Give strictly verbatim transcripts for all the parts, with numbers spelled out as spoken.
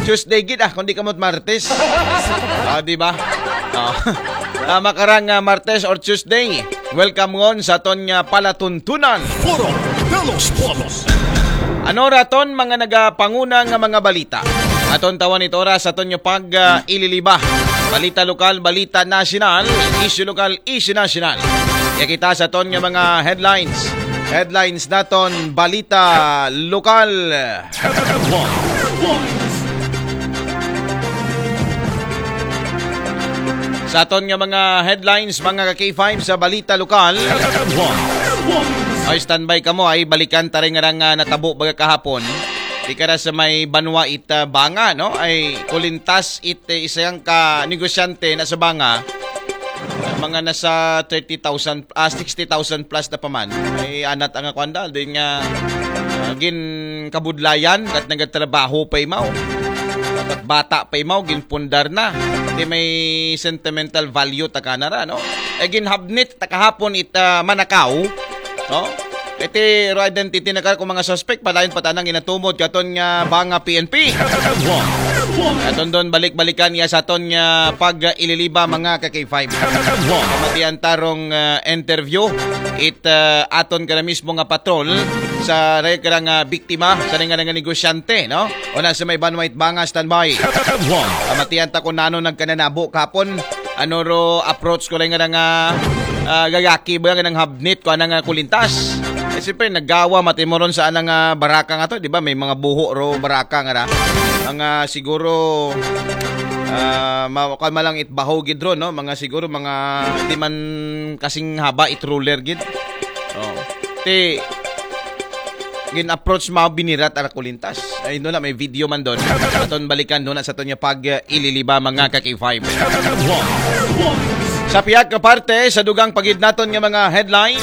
Tuesday gid ah, kundi kamot Martes. Ah, di ba? Ah. Ah, makarang ah, Martes or Tuesday. Welcome ngon sa aton nga palatuntunan. Foro de los Pueblos. Ano raton mga nagapanguna nga mga balita? Aton tawan it oras aton nga pag ah, ililiba. Balita lokal, balita nasyonal, isyu lokal, isyu nasyonal. Kaya kita sa aton nga mga headlines. Headlines naton, balita lokal. Sa aton nga mga headlines, mga ka-K five, sa balita lokal. Ay, standby kamo, ay balikan ta rin nga nga natabo baga kahapon. Di ka na sa may banwa it ah, banga, no? Ay kulintas it eh, isang ka negosyante na sa banga. Mga nasa thirty thousand, ah, sixty thousand plus na pa man. Ay anat ang kwanda, din nga ah, gin kabudlayan, kat nagtrabaho pa imaw. Kat bata pa imaw, gin pundar na. Di may sentimental value ta kanara, no? E gin habnit ta kahapon it ah, manakaw, no? Iti ro identity na kar kung mga suspect, padayon pa tanang inatumod katon nga banga P N P. Aton don balik-balikan ya sa aton nga pag-ililiba mga ka-K five. Kamatian tarong ah, interview it ah, aton ka na mismo nga patrol sa rey ka nga biktima sa nga nga negosyante, no? O na sa may banwa it banga, standby. Kamatian ta kung nano nagkananabo kapon, ano ro approach ko lang nga nga ah, gagaki ba nga nang habnit ko anang ah, kulintas. Eh, siyempre, naggawa matimoron sa anang ah, baraka nga to, di ba? May mga buho ro baraka nga ra. Ang ah, siguro ah, ma kan malang it baho gid ro, no? Mga siguro mga di man kasing haba it ruler gid. Oh. Ti gin-approach mga binirat ara kulintas. Ay, no na, may video man don. Aton balikan don sa aton nga pag-ililiba mga ka-K five. Sa pihak ka parte, sa dugang pagid naton nga mga headlines.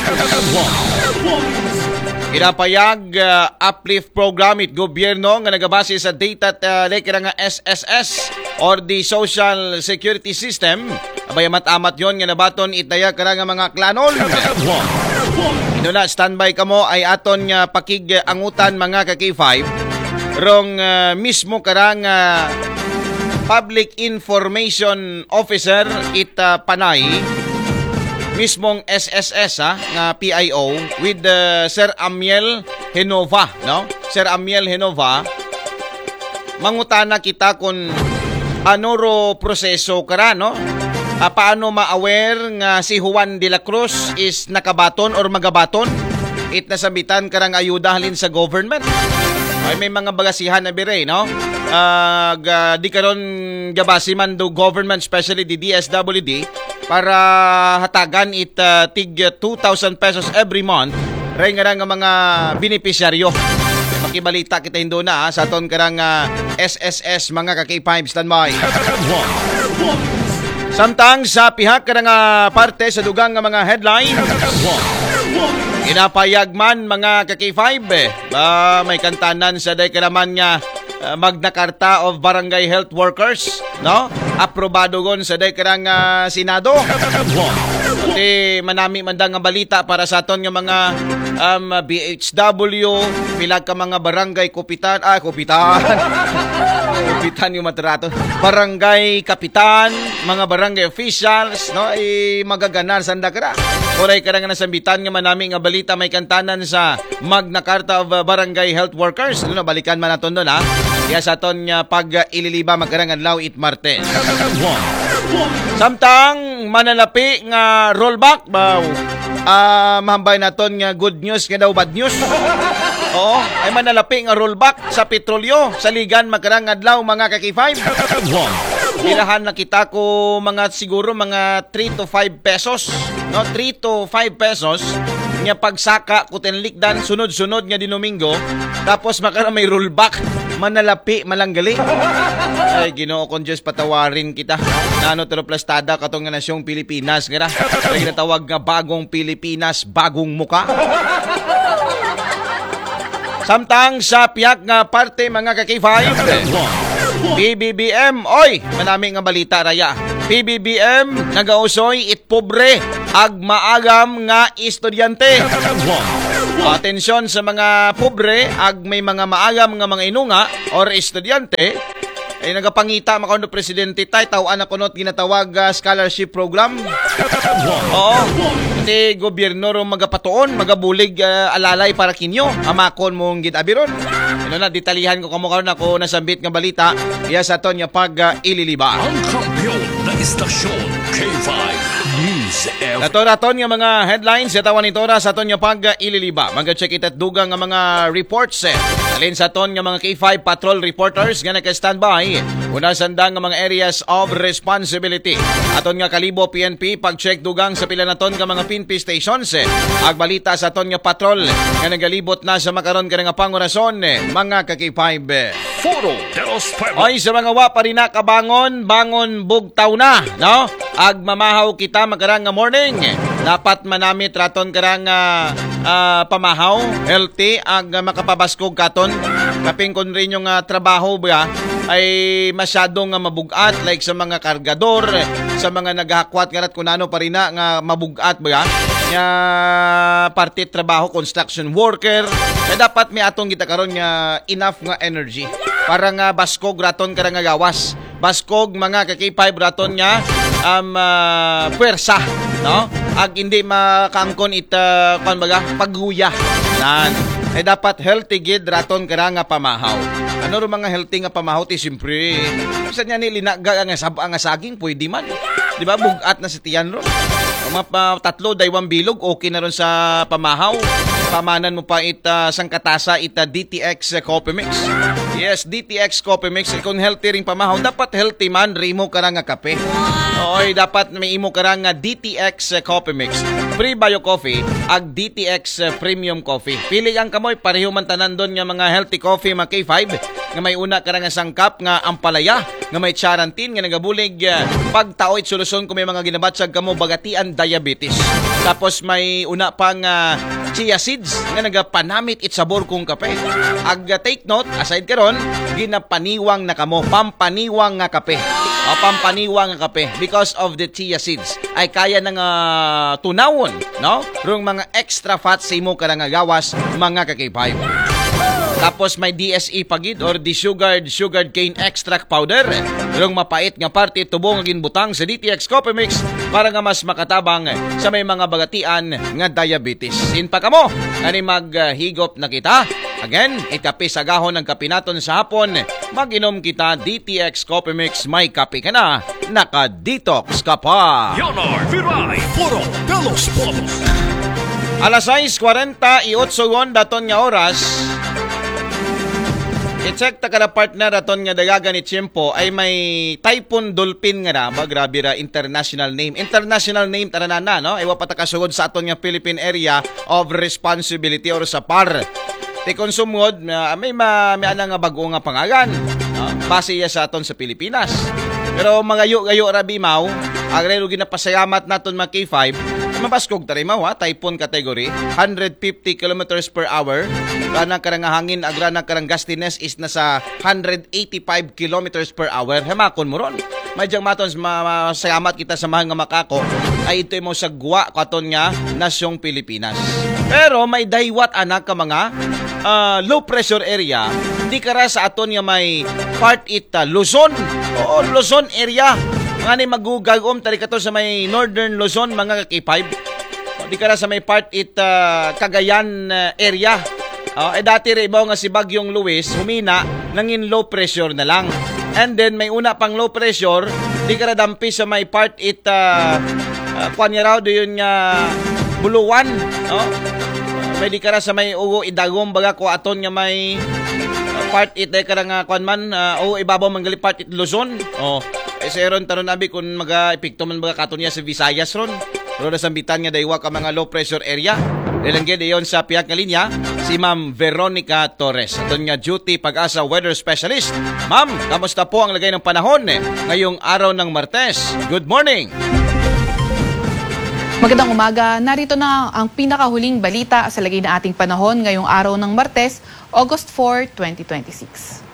Ginapayag ah, uplift program it gobyerno nga nagabase sa data uh, like nga S S S or the Social Security System. Abay amat-amat yon nga nabaton itaya kara nga mga klanon. Ino na, standby kamo ay aton nga pakig-angutan mga ka-K five. Rong ah, mismo kara nga Public Information Officer it ah, Panay, mismong S S S ha, nga P I O with ah, Sir Amiel Genova, no? Sir Amiel Genova, mangutana kita kung ano ro proseso kara, no? Ah, paano ma-aware nga si Juan de la Cruz is nakabaton or magabaton it nasambitan karang ayuda halin sa government? Ay, may mga bagasihan na bire, no? Ah, ga, di karon gabasi man do government, especially the D S W D, para hatagan it ah, tig two thousand pesos every month ray nga nga mga benepisyaryo. Makibalita kita hindo na ha, sa aton karang ah, S S S mga ka-K five, standby. Samtang sa pihak karang ah, parte sa dugang nga mga headlines, ginapayag man mga ka-K five, eh, ba may kantanan sa day karaman nga ah, Magna Carta of Barangay Health Workers, no? Aprobado gon sa day karang ah, Senado. Ti manami man da nga balita para sa aton nga mga um, B H W, pila ka mga barangay kupitan, ah, kupitan. Kupitan yung matrato. Barangay kapitan, mga barangay officials, no? Ay magaganar sanda kara. Uray karang nasambitan nga manami nga balita may kantanan sa Magna Carta of uh, Barangay Health Workers. Ano, balikan man naton don ha. Kaya sa aton nga pag-ililiba makarang adlaw it Martes. Samtang manalapi nga rollback, baw. Ah, mahambay naton nga good news nga daw bad news. Oo, ay manalapi nga rollback sa petrolyo sa ligan makarang adlaw mga ka-K five. Birahan na kita ko mga siguro mga three to five pesos, no? Three to five pesos nga pagsaka ko tinlikdan sunod-sunod nga Domingo, tapos makara may rollback, manalapi malanggali. Ay, Ginoo kong Diyos, patawarin kita. Nano tero plastada katong nga nasyong Pilipinas nga ra. Ay ginatawag nga bagong Pilipinas, bagong muka. Samtang sa pihak nga parte mga ka-K five, P B B M, oy, manami nga balita raya. P B B M nagausoy it pobre ag maagam nga estudyante. Atensyon sa mga pobre, ag may mga maagam nga mga inunga or estudyante, ay nagapangita makaon do presidente tay tawaan na kunot ginatawag ah, scholarship program. Oo. Ti gobyerno ro magapatuon, magabulig ah, alalay para kinyo. Amakon mong gid abiron. Ano na, detalihan ko kamo karon ako nasambit nga balita. Iya sa aton nga pag ah, ililiba. Ang kampiyon na istasyon, K five News F M. Nato raton nga mga headlines sa tawan nito ra sa aton nga pag ililiba. Mag-check ita't dugang nga mga reports eh. Alin sa aton nga mga K five patrol reporters nga naka-standby. Una sanda nga mga areas of responsibility. Aton nga Kalibo P N P pag-check dugang sa pila naton nga mga P N P stations eh. Agbalita sa aton nga patrol nga nagalibot na sa makaron ka nga pangurason eh. Mga ka-K five eh. Foro de los Pueblos. Oy, sa mga wa pa rin nakabangon, bangon bugtaw na, no? Agmamahaw kita makarang nga morning. Dapat manamit raton karang ah, ah, pamahaw, healthy, ag ah, makapabaskog katon. Kaping kun rin yung ah, trabaho ba ay masyado nga mabugat, like sa mga kargador, sa mga naghahakwat nga rat kung ano pa rin na nga mabugat ba nga parte trabaho, construction worker, na dapat may atong kita karon nga enough nga energy para nga baskog raton karang nga gawas, baskog mga ka-K five raton nga um, ah, puwersa, no? Ag hindi makaangkon it ah, kuwan baga, pagguya. Nan. Eh dapat healthy gid raton karang nga pamahaw. Ano ro mga healthy nga pamahaw ti siyempre. Sa niya ni linaga nga sab nga saging pwede man. Di ba? Bugat na si tiyan ron. Ang mga pa, tatlo, daywang bilog, okay na ron sa pamahaw. Pamanan mo pa it ah, sangkatasa it ah, D T X Coffee Mix. Yes, D T X Coffee Mix. Kung healthy ring pamahaw, dapat healthy man, rimo ka nga kape. Oy, dapat may imo ka nga D T X Coffee Mix. Prebio Coffee, ag D T X Premium Coffee. Pili ang kamoy, pareho man tanan doon nga mga healthy coffee, mga K five, nga may una ka nga sangkap nga ampalaya, nga may charantin, nga nagabulig, ah, pagtaoy solusyon kung may mga ginabatsag kamo bagatian diabetes. Tapos may una pang ah, chia seeds nga nagapanamit it sabor kung kape. Ag ah, take note, aside karon, ginapaniwang na kamo, pampaniwang nga kape. O, pampaniwang nga kape because of the chia seeds. Ay kaya na nga tunawon, no? Rong mga extra fats sa imo ka nga gawas, mga ka-K five. Tapos may D S E pagid or desugared sugared cane extract powder. Rong mapait nga parte tubo nga ginbutang sa D T X Coffee Mix para nga mas makatabang sa may mga bagatian nga diabetes. Sin pa kamo, kani maghigop na kita. Again, ikape sa gahon ang kape naton sa hapon. Mag-inom kita D T X Coffee Mix, may kape ka na, naka-detox ka pa. Leonard Viray, Foro de los Pueblos. Alas sais kwarenta y otso gon daton nga oras. I-check ta kada partner aton nga dagagan ni Chimpo ay may Typhoon Dolphin nga na ba, grabe ra international name. International name taranana, no? Iwa pa ta kasugod sa aton nga Philippine Area of Responsibility or sa par. Ti kung sumngod, ah, may ma, may ana nga bag-o nga pangalan. Ah, base iya sa aton sa Pilipinas. Pero magayo-gayo ra bimaw, agrero ginapasayamat naton mga K five, mabaskog ta rimaw ha, typhoon category, hundred fifty kilometers per hour. Rana karang hangin, agrana karang gustiness is nasa hundred eighty-five kilometers per hour. Hemakon mo ron. May diyang maton, ma, ma, salamat kita sa mahal nga makako. Ay ito mo sa guwa ko aton nga nasyong Pilipinas. Pero may daywat anak ka mga ah, low pressure area, di kara sa aton nga may part it ah, Luzon. Oo, Luzon area. Mga ni magugagom tari kato sa may Northern Luzon, mga ka-K five. Di kara sa may part it ah, Cagayan ah, area. Oh, eh dati rin ibaw nga si Bagyong Luis, humina, nangin low pressure na lang. And then may una pang low pressure, di kara dampi sa may part it ah, ah, kuwan niya raw, do yun nga buluwan, no? Pwede ka ra sa may ugo idagom baga ko aton nga may ah, part it ay ka ra nga kuwan man, ah, ugo ibabaw man gali part it Luzon. Oh. Eh, sa ron taron abi kung maga epekto man baga katon niya sa Visayas ron. Pero nasambitan nga daywa ka mga low pressure area. Dahil ang gid iyon sa pihak nga linya, si Ma'am Veronica Torres. Aton nga duty pag-asa weather specialist. Ma'am, kamusta po ang lagay ng panahon ngayong araw ng Martes? Good morning! Magandang umaga. Narito na ang pinakahuling balita sa lagay ng ating panahon ngayong araw ng Martes, August four, twenty twenty-six.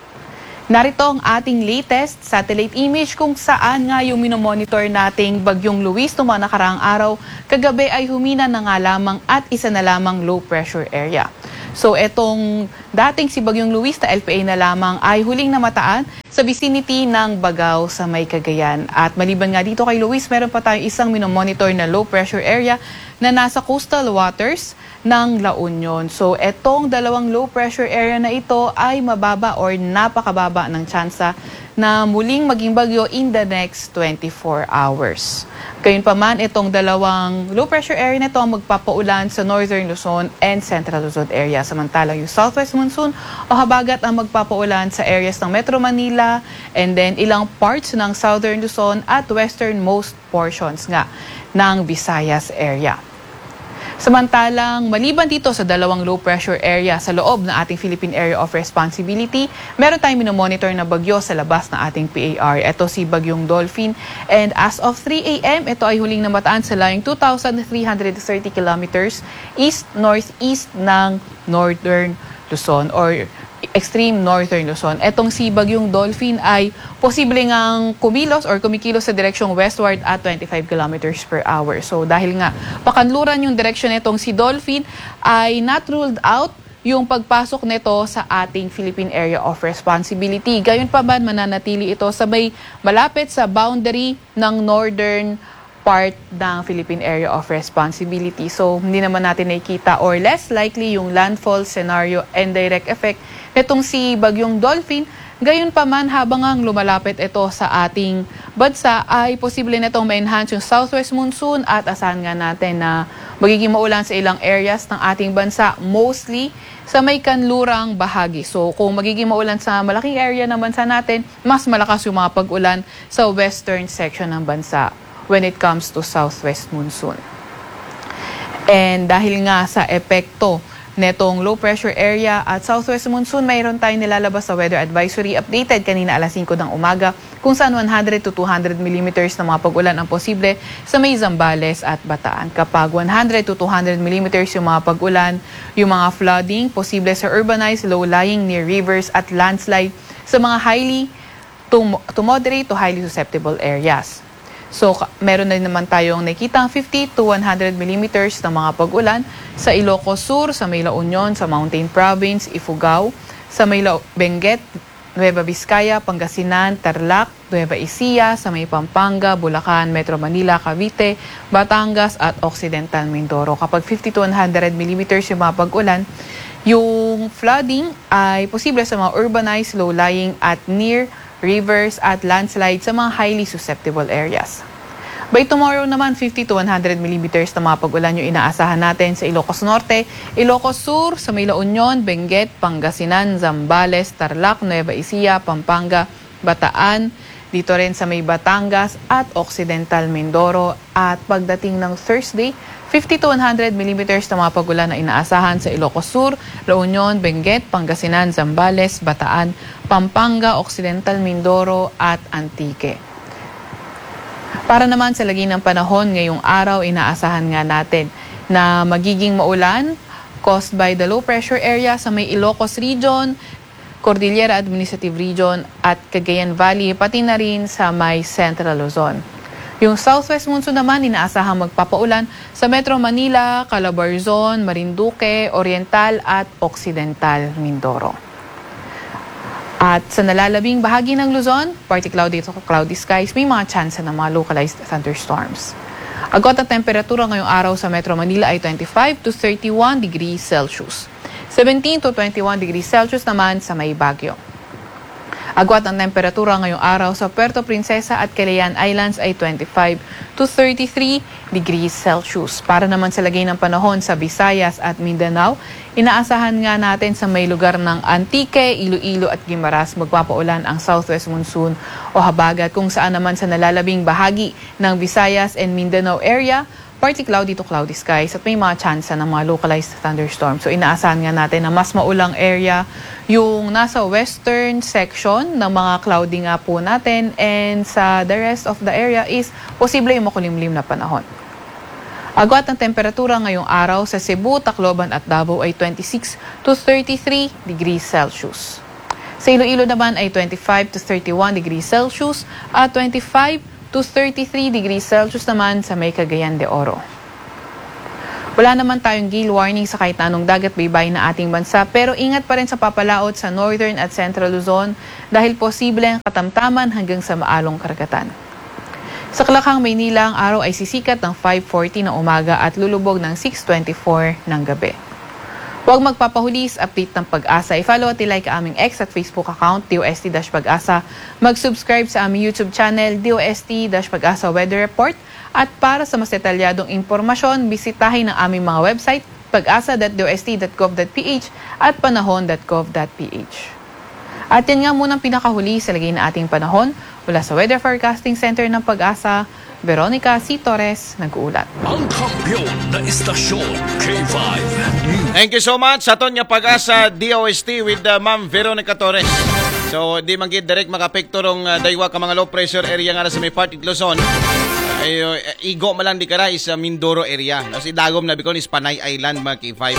Narito ang ating latest satellite image kung saan nga yung minomonitor nating Bagyong Luis noong mga nakaraang araw, kagabi ay humina na nga lamang at isa na lamang low pressure area. So etong dating si Bagyong Luis na L P A na lamang ay huling namataan sa vicinity ng Bagao sa may Cagayan. At maliban nga dito kay Luis, meron pa tayong isang minomonitor na low pressure area na nasa coastal waters ng La Union. So etong dalawang low pressure area na ito ay mababa or napakababa ng tsansa na muling maging bagyo in the next twenty-four hours. Gayunpaman, itong dalawang low pressure area na ito ang magpapaulan sa northern Luzon and central Luzon area. Samantalang yung southwest monsoon o habagat ang magpapaulan sa areas ng Metro Manila and then ilang parts ng southern Luzon at westernmost portions nga ng Visayas area. Samantalang maliban dito sa dalawang low pressure area sa loob ng ating Philippine Area of Responsibility, meron tayong minomonitor na bagyo sa labas ng ating P A R. Ito si Bagyong Dolphin, and as of three a m, ito ay huling namataan sa layong two thousand three hundred thirty kilometers east-northeast ng northern Luzon or extreme northern Luzon. Etong si Bagyong Dolphin ay posible ngang kumilos or kumikilos sa direksyong westward at twenty-five kilometers per hour. So dahil nga pakanluran yung direksyon nitong si Dolphin, ay not ruled out yung pagpasok nito sa ating Philippine Area of Responsibility. Gayunpaman, mananatili ito sa may malapit sa boundary ng northern part ng Philippine Area of Responsibility. So hindi naman natin nakikita, or less likely, yung landfall scenario and direct effect nitong si Bagyong Dolphin. Gayunpaman, habang ang lumalapit ito sa ating bansa, ay posible nitong ma-enhance yung southwest monsoon at asahan nga natin na magiging maulan sa ilang areas ng ating bansa, mostly sa may kanlurang bahagi. So kung magiging maulan sa malaking area ng bansa natin, mas malakas yung mga pag-ulan sa western section ng bansa when it comes to southwest monsoon. And dahil nga sa epekto netong low pressure area at southwest monsoon, mayroon tayong nilalabas sa weather advisory updated kanina alas singko ng umaga, kung saan one hundred to two hundred millimeters ng mga pag-ulan ang posible sa may Zambales at Bataan. Kapag one hundred to two hundred millimeters yung mga pag-ulan, yung mga flooding posible sa urbanized, low-lying, near rivers at landslide sa mga highly to, to moderate to highly susceptible areas. So meron na naman tayong nakikitang fifty to one hundred millimeters ng mga pag-ulan sa Ilocos Sur, sa may La Union, sa Mountain Province, Ifugao, sa may La Benguet, Nueva Vizcaya, Pangasinan, Tarlac, Nueva Ecija, sa may Pampanga, Bulacan, Metro Manila, Cavite, Batangas at Occidental Mindoro. Kapag fifty to one hundred millimeters yung mga pag-ulan, yung flooding ay posible sa mga urbanized, low-lying at near rivers at landslide sa mga highly susceptible areas. By tomorrow naman, fifty to one hundred millimeters na mga pag-ulan yung inaasahan natin sa Ilocos Norte, Ilocos Sur, sa may La Union, Benguet, Pangasinan, Zambales, Tarlac, Nueva Ecija, Pampanga, Bataan, dito rin sa may Batangas at Occidental Mindoro. At pagdating ng Thursday, fifty to one hundred millimeters na mga pag-ulan na inaasahan sa Ilocos Sur, La Union, Benguet, Pangasinan, Zambales, Bataan, Pampanga, Occidental Mindoro at Antique. Para naman sa lagay ng panahon ngayong araw, inaasahan nga natin na magiging maulan caused by the low pressure area sa may Ilocos Region, Cordillera Administrative Region at Cagayan Valley, pati na rin sa may Central Luzon. Yung southwest monsoon naman inaasahang magpapaulan sa Metro Manila, Calabarzon, Marinduque, Oriental at Occidental Mindoro. At sa nalalabing bahagi ng Luzon, partly cloudy to cloudy skies, may mga tsansa ng mga localized thunderstorms. Agwat ang temperatura ngayong araw sa Metro Manila ay twenty-five to thirty-one degrees Celsius. Seventeen to twenty-one degrees Celsius naman sa may Baguio. Agwat ang temperatura ngayong araw sa Puerto Princesa at Calayan Islands ay twenty-five to thirty-three degrees Celsius. Para naman sa lagay ng panahon sa Visayas at Mindanao, inaasahan nga natin sa may lugar ng Antique, Iloilo at Guimaras magpapaulan ang southwest monsoon o habagat, kung saan naman sa nalalabing bahagi ng Visayas and Mindanao area, partly cloudy to cloudy skies at may mga tsansa ng mga localized thunderstorms. So inaasahan nga natin na mas maulang area yung nasa western section ng mga cloudy nga po natin, and sa the rest of the area is posible yung makulimlim na panahon. Agwat ang temperatura ngayong araw sa Cebu, Tacloban at Davao ay twenty-six to thirty-three degrees Celsius. Sa Iloilo naman ay twenty-five to thirty-one degrees Celsius at twenty-five to thirty-three degrees Celsius naman sa may Cagayan de Oro. Wala naman tayong gale warning sa kahit na anong dagat baybay na ating bansa, pero ingat pa rin sa papalaot sa northern at central Luzon dahil posible ang katamtaman hanggang sa maalong karagatan. Sa Kalakhang, Maynila, ang araw ay sisikat ng five forty ng umaga at lulubog ng six twenty-four ng gabi. Huwag magpapahuli sa update ng PAGASA. I-follow at i-like ang aming X at Facebook account, D O S T dash PAGASA. Mag-subscribe sa aming YouTube channel, D O S T dash PAGASA Weather Report. At para sa mas detalyadong impormasyon, bisitahin ang aming mga website, pagasa dot D O S T dot gov dot P H at panahon dot gov dot P H. At yan nga munang pinakahuli sa lagay ng ating panahon. Mula sa Weather Forecasting Center ng PAGASA, Veronica C. Torres, nag-uulat. Ang kampiyon na istasyon, K five News. Thank you so much sa aton nga PAGASA D O S T with uh, Ma'am Veronica Torres. So, di man gid direct makapekto rong uh, daywa ka mga low pressure area nga sa may part it Luzon. Ay, uh, igo man lang di kara is uh, Mindoro area. Tapos idagom na bikon is Panay Island, mga K five.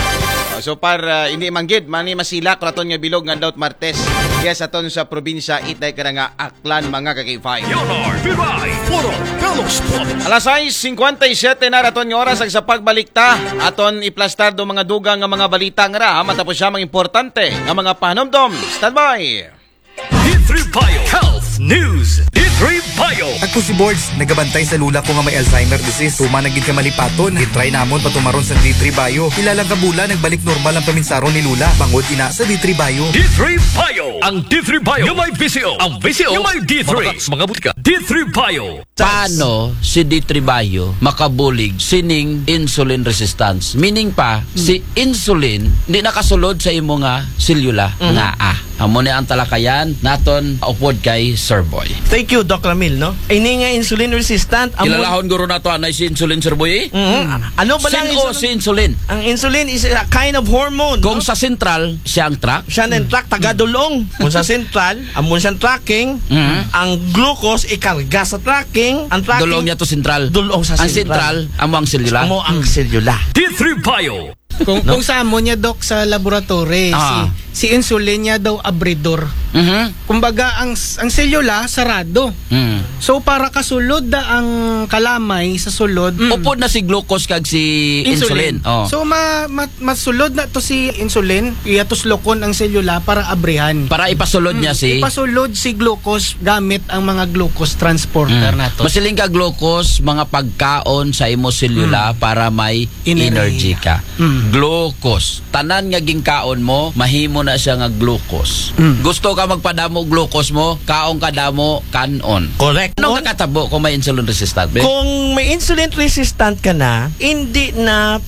Uh, so, par uh, hindi man gid, mani masilak raton nga bilog nga daw Martes. Yes, aton sa probinsya, itay kara nga Aklan, mga ka-K five. Leonard Viray, puro Carlos Pop. Alas sais singkwenta y siyete na raton nga oras ag sa pagbalikta, aton iplastar do mga dugang nga mga balita nga ra matapos siya mga importante nga mga pahanumdom. Standby! D three Bio Health News. D three Bio. Ako si Borge, nagabantay sa lula ko nga may Alzheimer disease. Tuma na gid ka malipaton. Gitry namon patumaron sa D three Bio. Pila lang ka bulan, nagbalik normal ang paminsaron ni lula. Bangod ina sa D three Bio. D three Bio. Ang D three Bio nga may V C O. Ang V C O nga may D three. Mga butika. D three Bio. Paano si D three Bio makabulig sining insulin resistance? Meaning pa, si insulin di nakasulod sa imo nga selula nga ah. Amo ni ang talakayan naton upod kay Sir Boy. Thank you, Doc Ramil, no? Ini nga insulin resistant, amo Kilalahon guro nato anay si insulin, Sir Boy, eh? Mhm. Ano ba lang Sin-o insulin? Si insulin? Ang insulin is a kind of hormone. Kung No? Sa sentral, siya ang truck. Siya na truck, taga dulong. Kung sa sentral, amon siyang tracking, Mhm. ang glucose ikarga sa tracking, ang tracking Dulong niya to sentral. Dulong sa Ang sentral. Sentral, amo ang selula. Amo ang selula. D three Bio. Kung, kung sa amo niya, Doc, sa laboratory, Ah. si, si insulin niya daw abridor. Mhm. Kumbaga, ang, ang selula, sarado. Mm. So, para kasulod da ang kalamay sa sulod, Upod na si glucose kag si insulin. Oh. So, ma, ma, masulod na to si insulin, iya tuslokon ang selula para abrihan. Para ipasulod niya si Ipasulod si glucose gamit ang mga glucose transporter Mm. nato. Masiling ka glucose, mga pagkaon sa imo selula para may energy, Enerhiya. ka. Glucose. Tanan nga gingkaon mo, mahimo na siya nga glucose. Gusto ka magpadamo glucose mo, kaon ka damo, kanon. Correct. Ano On? Kakatabo kung may insulin resistant? Kung may insulin resistant ka na, hindi na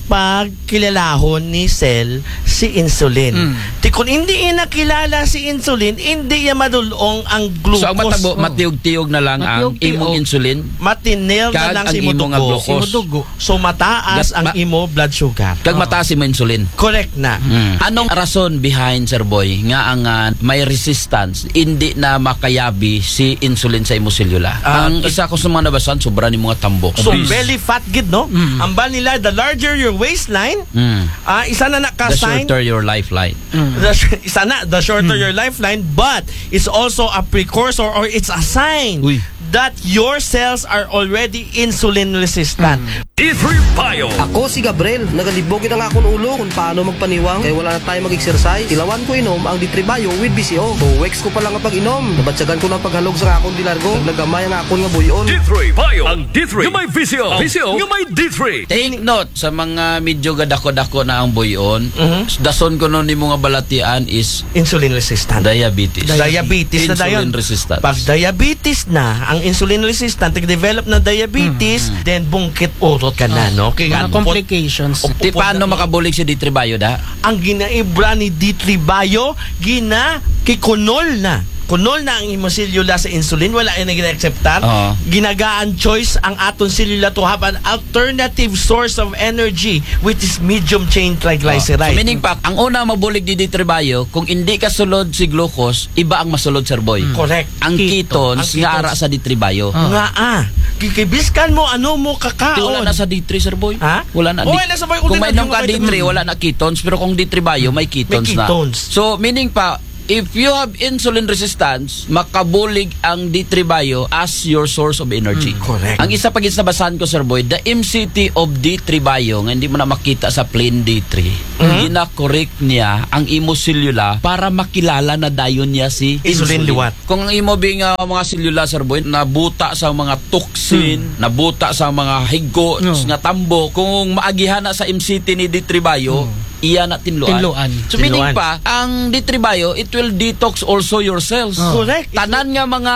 pagkilalahon ni cell si insulin. Ti kung hindi inakilala si insulin, hindi niya madulong ang glucose. So ang matabo, matiyog-tiyog na lang ang Matiyog-tiyog. Imong insulin. Matinil na Kag lang ang si imo nga glucose. glucose. Imo dugo. So mataas Gat- ang ma- imo blood sugar. Kag mataas imo insulin. Correct na. Mm. Anong rason behind, Sir Boy, nga ang ah, may resistance, hindi na makayabi si insulin sa imo selula? Ah, Ang t- isa ko sa mga nabasan, sobra ni mga tambok. So Obese. belly fat gid, no? Ang bali nila, the larger your waistline, Mm. ah, isa na na ka The sign. Shorter your lifeline. The sh- isa na, the shorter your lifeline, but it's also a precursor or it's a sign Uy. that your cells are already insulin resistant. D three Bio. Ako si Gabriel. Nagalibog na nga akong ulo kung paano magpaniwang kay wala na tayo mag-exercise. Tilawan ko inom ang D three Bio with B C O. Two weeks ko pa lang nga pag-inom. Nabatyagan ko ng paghalog sa akong dilargo. Naglagamay ang akon nga buyon. D three Bio. Ang D three nga may V C O. V C O nga may D three. Take note sa mga medyo gadako-dako na ang buyon. Dason ko nun nimo nga balatian is Insulin resistant. diabetes. Diabetes na Insulin dayon. Resistance. Pag diabetes na, ang insulin resistant, nag-develop na diabetes, then bungkit urot ka na, no? Kaya Mga complications. Op- Ti paano upod na- makabulig si D three Bio da? Ang ginaibra ni D three Bio, gina kikunol na. Kunol na ang imo selula sa insulin, wala ay nag-acceptar. Oo. Ginagaan choice ang aton selula to have an alternative source of energy, which is medium chain triglyceride. So, meaning pa, ang una mabulig ni D three Bio, kung hindi ka sulod si glucose, iba ang masulod, Sir Boy. Correct. Ang ketones, Ang nga ketones. ara sa D three Bio. Nga ah, kikibiskan mo ano mo Ti kakaon. wala na sa D three, Sir Boy. Ha? Wala na. Oh, Di- wala sa Bio, kung ulti may na nung ka yung D three, wala na ketones. Pero kung D three Bio, may ketones May na. ketones. So, meaning pa, If you have insulin resistance, makabulig ang D three Bio as your source of energy. Mm, correct. Ang isa pa gid sa nabasahan ko, Sir Boy, the M C T of D three Bio, nga hindi mo na makita sa plain D three, Mhm. gina-correct niya ang imo selula para makilala na dayon niya si Insulin liwat. Kung ang imo bing, ah, mga selula, Sir Boy, nabuta sa mga toxin, Hmm. nabuta sa mga higko, No. nga tambok, kung maagihan na sa M C T ni D three Bio, Hmm. iya na tinluan. Tinluan. So meaning Tinluan. Pa, ang D three Bio, it will detox also your cells. Oh. Correct. Tanan nga mga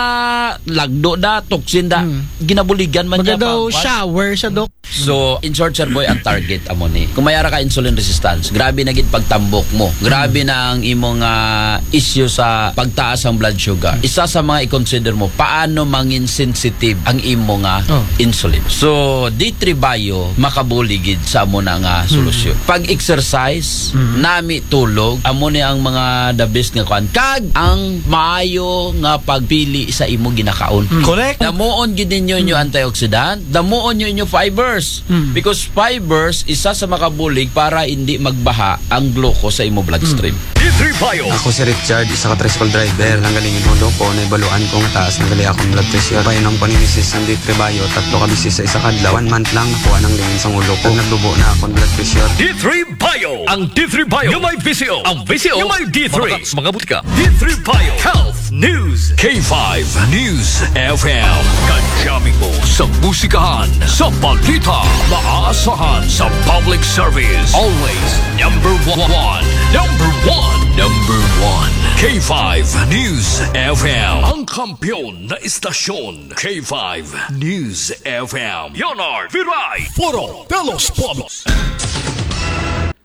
lagdo da, toxin da, Hmm. ginabuligan man Baga niya daw pagwas. Shower sa, Doc. So, in short, Sir Boy, ang target amo ni. Kung may ara ka insulin resistance, grabe na gid pagtambok mo. Grabe na ang imong ah, issue sa pagtaas ang blood sugar. Isa sa mga i-consider mo, paano mangin sensitive ang imo nga Oh. insulin. So, D three Bio, makabulig gid sa amo na nga solusyon. Pag-exercise, Mhm. nami tulog, amo ni ang mga the best nga kuan. Kag ang maayo nga pagpili sa imo ginakaon. Correct. Damuon gid ninyo inyo antioxidant, damuon nyo inyo fibers. Mm. Because fibers, isa sa makabulig para hindi magbaha ang glucose sa imo bloodstream. D three Bio. Ako si Richard, isa ka tricycle driver. Nanggaling yung ulo ko, naibaluan ko nga taas na gali akong blood pressure. Painom ko ni misis ang D three Bio, tatlo ka bisis sa isa ka adlaw. One month lang, nakuha ng lingin sa ulo ko. Naglubo na akong blood pressure. D three Bio. Ang D three Bio. Yung may visyo. Ang visyo. Yung may D three. Mabaka sa mga butika. D three Bio. Health News. K five News F M. Kadyamin mo sa musikahan, sa balita, maaasahan sa public service. Always number one. Number one. Number one. K five News F M. Ang kampiyon na istasyon. K five News F M. Leonard Viray. Foro de los Pueblos.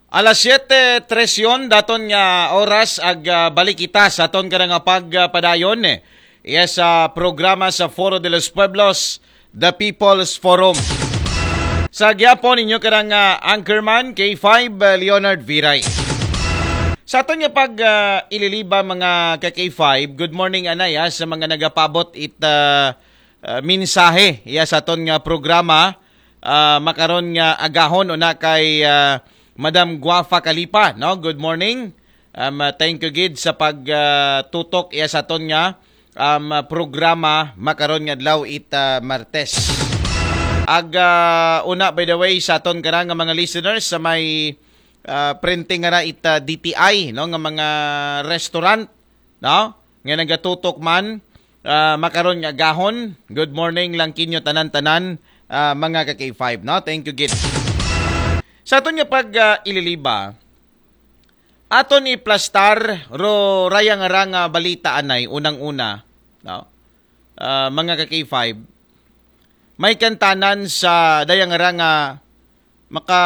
Alas siyete trese yon, daton nga oras, ag ah, balik kita sa aton kada nga pagpadayon, eh. Yes, sa programa sa Foro de los Pueblos, The People's Forum. Sa gyapon ninyo kada nga anchorman, K five, ah, Leonard Viray. Sa aton nga pag ah, ililiba, mga ka K five, good morning anay ah, sa mga nagapabot it ah, ah, mensahe iya sa aton nga programa, ah, makaron nga agahon una kay ah, Madam Guafa Kalipa, no? Good morning. Um, ah, thank you gid sa pag ah, tutok iya sa aton nga um, ah, programa makaron nga adlaw it ah, Martes. Ag ah, una, by the way, sa aton kada nga mga listeners sa may ah, printing nga na it ah, D T I, no, nga mga restaurant, no, nga nagatutok man ah, makaron nga agahon. Good morning lang kinyo tanan-tanan, ah, mga ka K five, no? Thank you gid. Sa aton nga pag ah, ililiba, aton iplastar ro raya nga ra nga balita anay, unang-una, no? Ah, mga ka K five, may kantanan sa daya nga ra nga maka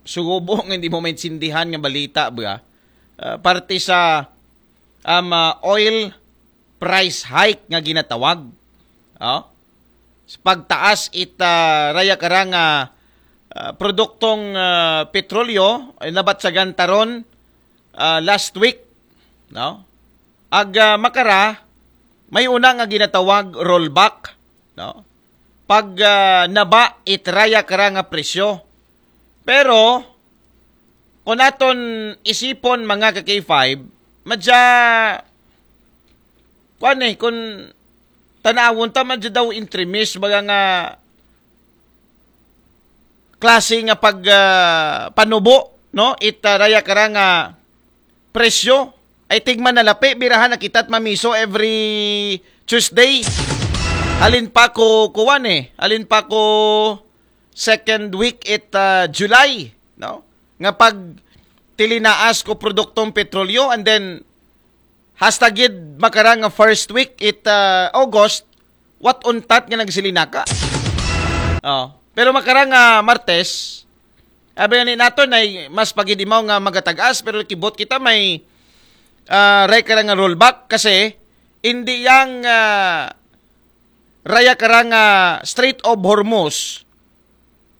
sugubo nga hindi mo maintindihan nga balita ba? Ah, parte sa um, ah, oil price hike nga ginatawag. Oh? Sa pagtaas it ah, raya kara nga ah, produktong ah, petrolyo, eh, nabatsagan taron ah, last week, no? Ag ah, makara, may una nga ginatawag rollback, no? Pag ah, naba it raya kara nga presyo. Pero kung aton isipon, mga ka K five, madya, kuan eh, kung tanawon ta, madya daw intremis, baga nga klase nga pag ah, panubo, no? It ah, raya kara nga presyo. Ay tigman na lapi, birahan na kita't mamiso every Tuesday. Halin pa ko kuwan eh. Halin pa ko second week it ah, July, no? Nga pag tilinaas ko produktong petrolyo, and then hasta gid makara nga first week it ah, August, what untat nga nagsilinaka. Oh. Pero makara nga Martes, abi ni naton ay mas pagidimaw nga magatag-as, pero kibot kita may ah, ray kara nga rollback kasi hindi yang ah, raya kara nga Strait of Hormuz,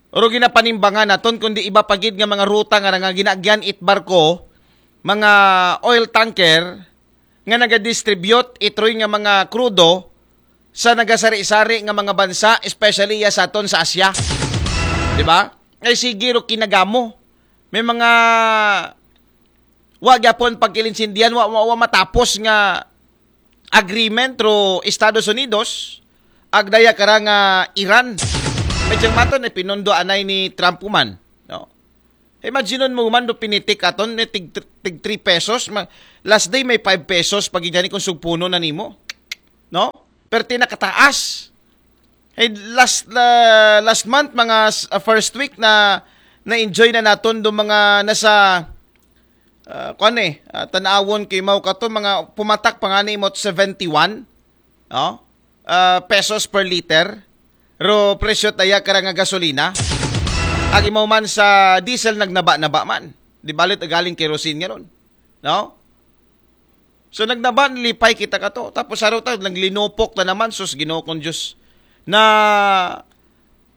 ro ginapanimbangan naton, kundi iba pa gid nga mga ruta nga, nga ginaagyan it barko, mga oil tanker nga nagadistribute itroy nga mga krudo sa nagasari-sari nga mga bansa, especially ya sa aton sa Asia. Di ba? Ay sige ro kinagamo. May mga Wa gyapon pagkilinsindihan, wa, wa, wa matapos nga agreement ro Estados Unidos, agdaya kara nga Iran. Medyo mato na pinundo anay ni Trump man. No? Imagine mo man do pinitik aton ni tig, tig three pesos, ma, last day may five pesos pag inyani kung sugpuno na nimo. No? Pero tinakataas. Hey, last uh, last month, mga uh, first week na na-enjoy na naton do mga nasa uh, kuan eh, uh, tanawon kay mao kato mga pumatak pa nga ni imot seventy-one, no? Uh, pesos per liter. Ro presyo taya kara nga gasolina. Ag imaw man sa diesel nagnaba-naba man. Di balit galing kerosene nga ron. No? So nagnaba, lipay kita kato. Tapos araw ta naglinupok na naman, sus Ginoo kong Diyos. Na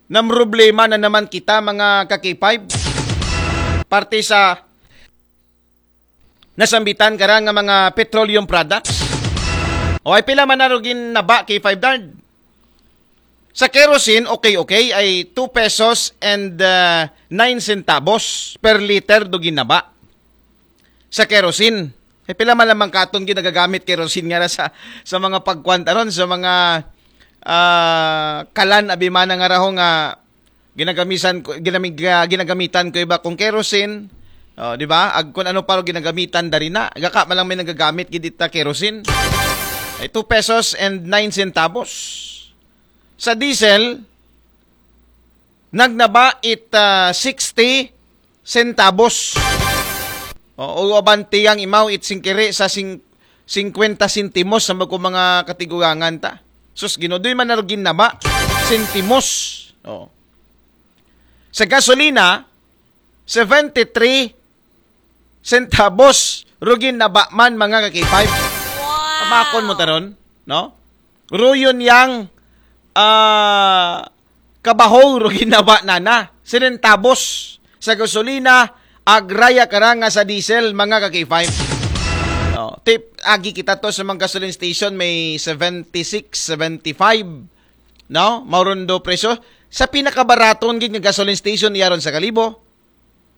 namroblema na naman kita, mga ka-K five. Parte sa nasambitan kara nga mga petroleum products. O ay pila man na ro ginnaba, K five Dard? Sa kerosene, okay, okay, ay two pesos and uh, nine centavos per liter do ginnaba. Sa kerosene. Eh, pila man lamang katon gid nagagamit kerosene nga na sa, sa mga pagkuan ta ron, sa mga ah, kalan abimana nga raho nga ginagamisan ko ginamig, ah, ginagamitan ko iba kung kerosene. Oh, di ba? Ag kung ano pa ro ginagamitan dari na. Gaka man lang may nagagamit gid ita kerosene. Ay two pesos and nine centavos. Sa diesel, nagnaba it ah, sixty centavos. O, o abante yang imaw it singkiri sa sing, singkwenta sentimos sa magko mga katigurangan ta. Sus, Ginoo, doy man na ro ginnaba. Sentimos. O. Sa gasolina, seventy-three centavos ro ginnaba man, mga ka-K five. Pamakon mo taron, no? Ruyon yang ah, kabahaw ro ginnaba nana. Sentabos sa gasolina, agraya kara nga sa diesel, mga ka-K five. Oh, tip, agi kita to sa mga gasoline station, may seventy-six, seventy-five. No? Mauron do presyo. Sa pinakabaraton gid nga gasoline station, iyaron sa Kalibo.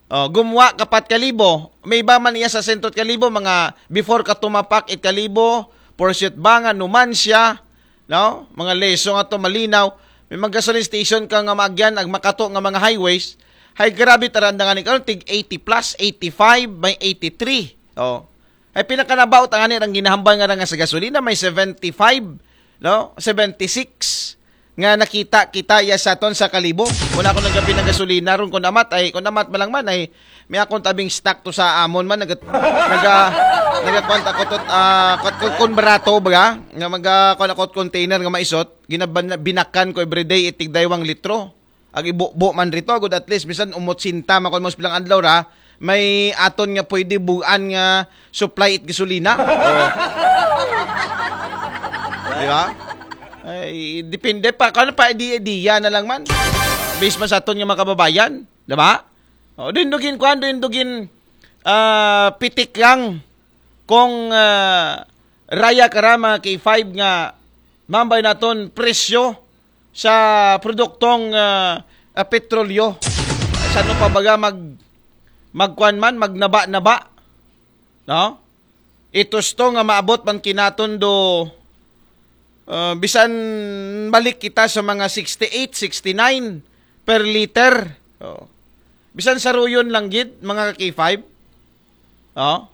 Oh, gumwa kapat ka libo. May iba man iya sa sentot ka libo, mga before ka tumapak it ka libo, pursuit ba nga numan siya, no? Mga leso nga to malinaw. May mga gasoline station ka nga maagyan, ag makato nga mga highways. Hay grabe taranda nga ni karon tig eighty plus, eighty-five, may eighty-three. Oh. Ay pinakanabaot ang ani rang ginahambal nga ra nga sa gasolina may seventy-five, no? Seventy-six nga nakita kita iya sa ton sa kalibo. Kung ako nagapin ng gasolina ron, kung amat ay, kung amat malang man ay, may akong tabing stock to sa amon man, naga, naga, nagakuan ako to, ah, kung, kung, kung barato ba, nga maga, kung ako container nga maisot, ginaban-, binakan ko everyday, itig daywang litro. Ag ibubo man rito, agud at least, bisan umot sinta, makon mo sa pilang adlaw ra, may aton nga pwede buan nga supply it gasolina. Oh. Di ba? Ay, depende pa. Kano pa, idea-idea na lang man. Base man sa aton nga mga kababayan. Di ba? Oh, din dugin, kwan, din dugin, ah, pitik lang kung ah, raya kara mga K five nga mambay naton presyo sa produktong ah, ah, petrolyo. Sa ano pa baga mag magkuan man, magnaba-naba, no? Itos to nga maabot man kinaton do ah, bisan balik kita sa mga sixty-eight, sixty-nine per liter. Oh. Bisan sa ruyon lang gid, mga ka-K five. Oh.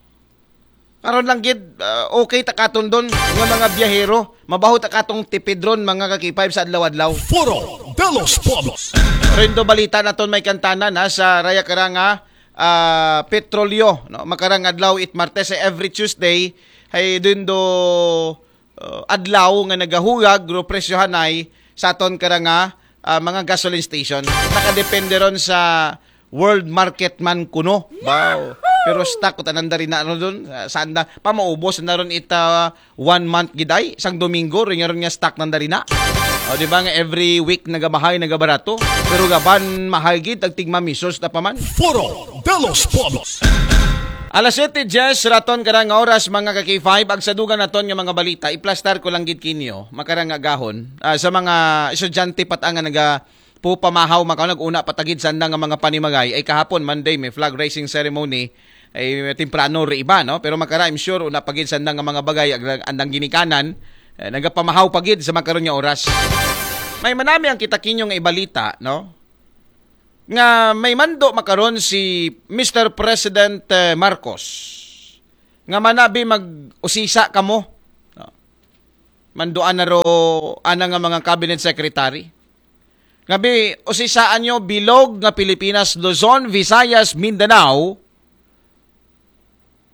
Karon lang gid, ah, okay ta katon don nga mga biyahero. Mabaho ta katong tipid ron, mga ka-K five, sa adlaw-adlaw. Foro de los Pueblos. Rendo balita naton may kantanan ha, sa raya karanga ah, petrolyo, no? Makarang adlaw it Martes, eh, every Tuesday hay din do uh, adlaw nga nagahugag ro presyohanay sa aton karanga ah, mga gasoline station. Nakadepende ron sa world market man kuno. Wow. Pero stock ko tanan dari na ron dun. Ah, saan na? Pamaubos na ron ita one month giday, sang Domingo, rin nga ron nga stock nanda rin na. O, di ba nga every week nagabahay, nagabarato? Pero gaban, mahal gid, tag tigmamisos na paman. Foro de los Pueblos. Alas siyete diyes, raton ka nga oras, mga ka-K five, ag sa dugan naton nga mga balita, iplastar ko lang gid kinyo, makarang agahon, ah, sa mga estudyante pat nga naga pupamahaw, makaw nag-una patagid sanda nga mga panimagay, ay kahapon, Monday, may flag raising ceremony, Ay, temprano ri iba, no? Pero makara, I'm sure, una pa gid sa andang nga mga bagay, ag-, andang ginikanan, eh, nagapamahaw pa gid sa makaron nga oras. May manami ang kita kinyo nga ibalita, no? Nga may mando makaron si Mister President, eh, Marcos. Nga manabi mag-usisa kamo. No? Manduan na ro ana nga mga cabinet secretary. Nga bi, usisaan nyo bilog nga Pilipinas, Luzon, Visayas, Mindanao,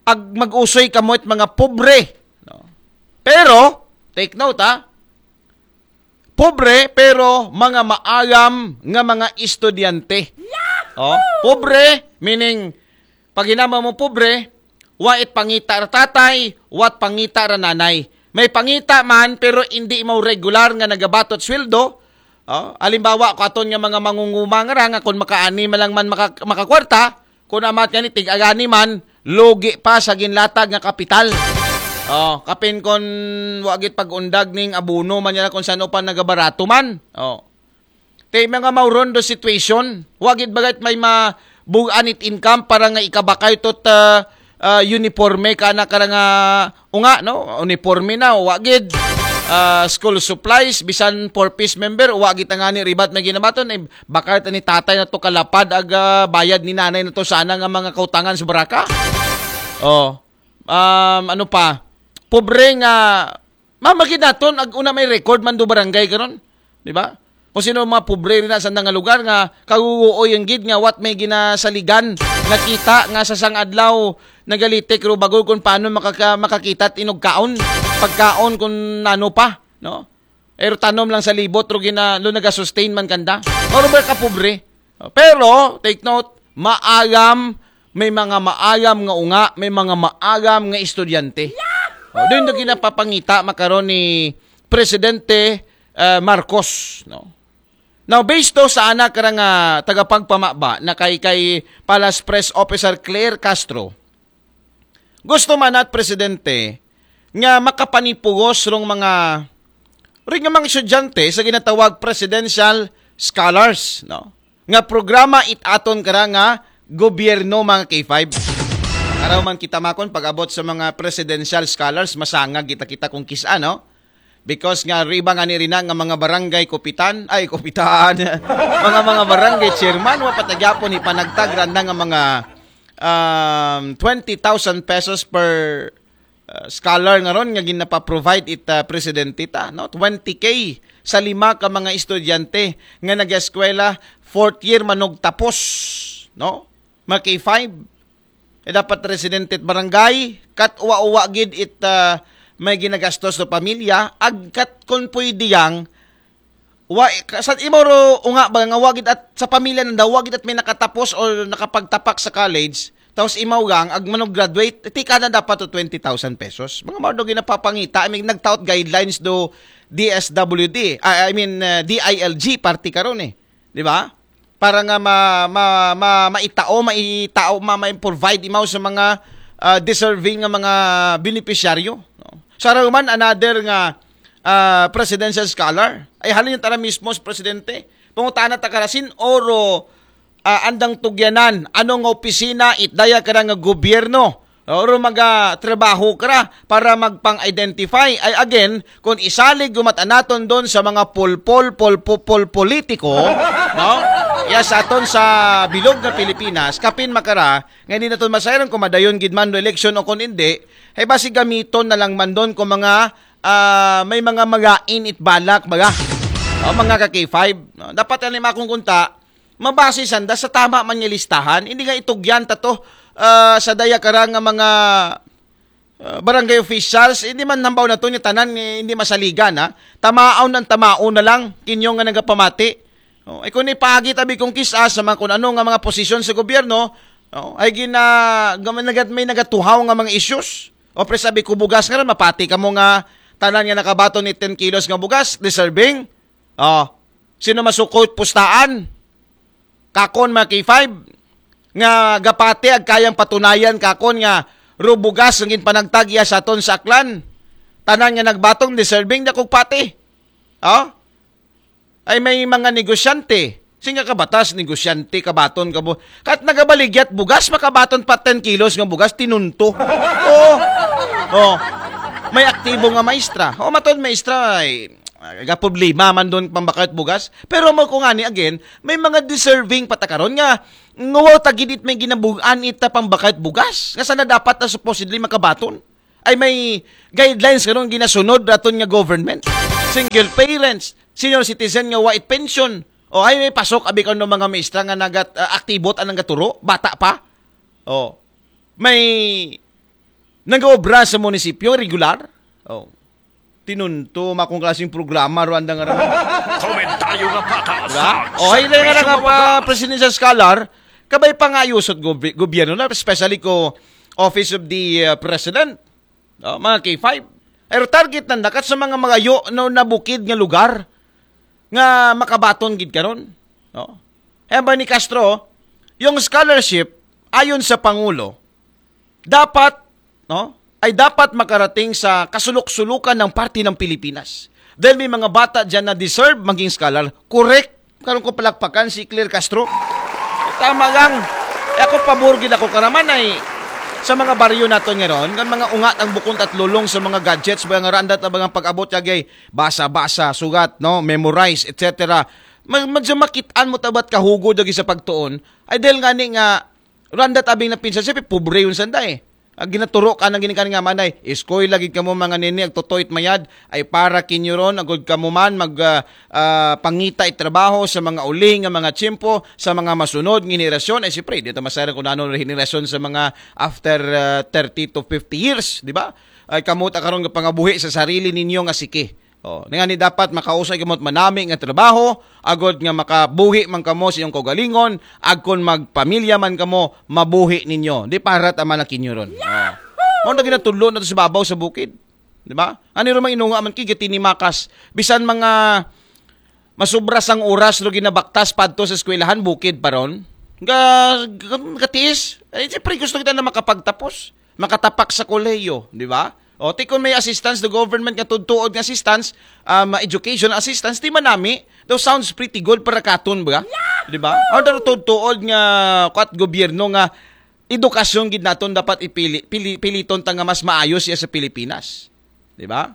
ag mag-usoy kamo it mga pobre. No? Pero, take note ha, pobre pero mga maayam nga mga estudyante. Oh, pobre, meaning, pag hinama mo pobre, wa it pangita ra tatay, wa it pangita ra nanay. May pangita man, pero hindi mo regular nga nagabatot sweldo. Oh, halimbawa, ko aton nga mga mangunguma nga ra, nga kung makaani man lang man maka-, makakwarta, kung amat nga ni tig-agani man, lugi pa sa ginlatag nga kapital. Oh, kapin kon wa gid pag-undag ning abono man niya kung saan pa nagabarato man. Oh. Te mga mauron do situation. Wa gid bagay may mabugan it income para nga ikabakay tot, ah, ah, uniforme ka na kara nga unga, no? Uniforme na, wa gid. Ah, school supplies, bisan four Ps member, wa gid tangani ribat may ginabaton. Eh, bakal ta ni tatay na to kalapad ag, ah, bayad ni nanay na to sana nga mga kautangan sa baraka. Oh. Um, ano pa? Pobre nga, mamagid naton, ag una may record man do barangay karon. Di ba? Kung sino mga pobre rin na sa nga lugar nga kaguguoy ang gid nga what may ginasaligan, nakita nga sa sang adlaw nagalitik ro bagol kung paano makaka-, makakita at inugkaon, pagkaon kung ano pa, no? Pero tanom lang sa libot ro gina-, lo nagasustain man kanda. Or ba ka pobre? Pero, take note, maayam, may mga maayam nga unga, may mga maayam nga estudyante. Oh, doon do ginapapangita makaron ni Presidente, eh, Marcos, no? Now, based to sa anak ra nga tagapagpamaba na kay, kay Palace Press Officer Claire Castro, gusto man at presidente nga makapanipugos rong mga, ring nga mga estudyante sa ginatawag presidential scholars, no? Nga programa it aton kara nga gobyerno, mga K five. Araw man kita makon pag-abot sa mga presidential scholars, masangag kita kita kung kisa, no? Because nga riba nga ni rina nga mga barangay kupitan, ay kupitan, mga mga barangay chairman, wa patagyapon ipanagtag randa nga mga, um, twenty thousand pesos per, uh, scholar nga ron nga ginapa-provide it, uh, presidente ta, no? Twenty K sa lima ka mga estudyante nga nag-eskwela, fourth year manog tapos, no? Mga K five. Eh, dapat residente at barangay, kat uwa-uwa gid it, ah, may ginagastos do pamilya, ag kat kun pwede yang, wa, ka-, sa imo ro unga ba nga wa gid at sa pamilya nanda, wa gid at may nakatapos o nakapagtapak sa college, tapos imaw gang, ag manog graduate, tika na dapat to twenty thousand pesos. Mga mao do ginapapangita, I mean, nagtaot guidelines do D S W D, ah, I mean, ah, D I L G, party karon eh. Di ba? Para nga ma, ma, ma, maitao, maitao, ma, ma-provide imaw sa mga, ah, deserving nga mga benepisyaryo, no? Sa man another nga, ah, presidential scholar, ay halin tara mismo sa presidente. Pangutana ta karasin, oro, ah, andang tugyanan, ano nga opisina, itdaya kara nga gobyerno, oro maga trabaho kara para magpang-identify. Ay again, kung isalig gumatan naton doon sa mga polpol, polpopol politiko, no? Ya sa aton sa bilog na Pilipinas, kapin makara, nga hindi naton masayran kung madayon gid man do eleksyon o kung hindi, ay basi gamiton na lang man doon kung mga, ah, may mga magain it balak, baga. O, mga ka K five, no? Dapat yan akong kunta, mabase sanda sa tama man nga listahan. Hindi nga itugyan ta to, ah, sa daya kara nga mga, ah, barangay officials. Hindi man hambaw na to nga tanan, eh, hindi masaligan, ha? Tamaon ang tamaon na lang, kinyo nga nagapamati. Oh, ay kung ipagi tabi kung kisa sa mga kung ano nga mga posisyon sa gobyerno, oh, ay gina-, gama-, nagat-, may nagatuhaw nga mga issues. O pre, sabi ko, bugas nga rin, mapati ka mo nga tanan nga nakabaton ni ten kilos nga bugas, deserving. Oh, sino masukot pustaan? Kakon, mga K five, nga gapati ag kayang patunayan kakon nga rubugas ang ginpanagtag iya sa aton sa Aklan. Tanan nga nagbatong deserving na kog pati. Oh? Ay may mga negosyante. Sing nga kabatas, negosyante, kabaton ka bu-, kat nagabaligyat bugas, makabaton pa ten kilos nga bugas, tinunto. Oo. Oh. May aktibo nga maestra. O, matod maestra, ay, ga problema man doon pambakayot bugas. Pero mo ko nga ni, again, may mga deserving patakaron nga, nga wow tagid it may ginabugan ita pambakayot bugas. Nga sana dapat na supposedly makabaton. Ay may guidelines karon ginasunod raton nga government. Single parents, senior citizen nga wa it pension. O ay may pasok abi karon mga maestra nga nagat ah, aktibot anang gaturo, bata pa. O. May nagaobra sa munisipyo regular. O. Tinunto makong klaseng programa Rwanda nga raman. Komentaryo nga patas. Diba? O ay na nga nga pa presidential scholar, kabay pa nga ayusot gobi- gobyerno na, especially ko Office of the uh, President. No, mga K five. Pero target na nakat sa mga magayo no nabukid nga lugar nga makabaton gid karon. No? Kaya ba ni Castro, yung scholarship ayon sa pangulo dapat, no, ay dapat makarating sa kasulok-sulukan ng parte ng Pilipinas. Dahil may mga bata diyan na deserve maging scholar. Correct. Karon ko palakpakan si Claire Castro. Tama lang. E ako pabor gid ako karaman ay sa mga baryo naton ngaron, kan mga ungat ang bukon at lulong sa mga gadgets, mga randat na mga pag-abot yagay basa-basa, sugat, no, memorize, et cetera. Ma- Medyo makitaan mo tabat kahugo dagi sa pagtuon. Ay dahil nga ni nga randat abing napinsan siya, pobre yun sanda eh. Ag ginaturo ka ng ginikan nga manay, iskoy lagi kamo mga nini, ag tutoy mayad, ay para kinyo ron, agod kamo man mag ah, ah, pangita it trabaho sa mga uli nga mga tiyempo, sa mga masunod nga henerasyon. Ay siyempre, di ta masayran kung ano henerasyon sa mga after ah, thirty to fifty years, di ba? Ay kamo ta karon nga pangabuhi sa sarili ninyo nga siki. Oh, nga ni dapat makausay kamot manami nga trabaho, agod nga makabuhi man kamo sa iyong kaugalingon, agkon magpamilya man kamo, mabuhi ninyo. Di para ta man kinyo ron. Oh. Mao na ginatudlo na to sa babaw sa bukid. Di ba? Ani ro mga inunga man kay gitinimakas. Bisan mga masubra sang oras ro ginabaktas padto sa eskwelahan, bukid pa ron. Ga, ga- gatiis. Eh, siyempre gusto kita na makapagtapos. Makatapak sa kolehiyo, di ba? O, ti kung may assistance, the government nga tudtuod nga assistance, um, education assistance, di manami, though sounds pretty good para katon ba? Di ba? Ang tudtuod nga, kat gobyerno nga, edukasyon gid naton dapat ipili, pili, piliton ta nga mas maayo siya sa Pilipinas. Di ba?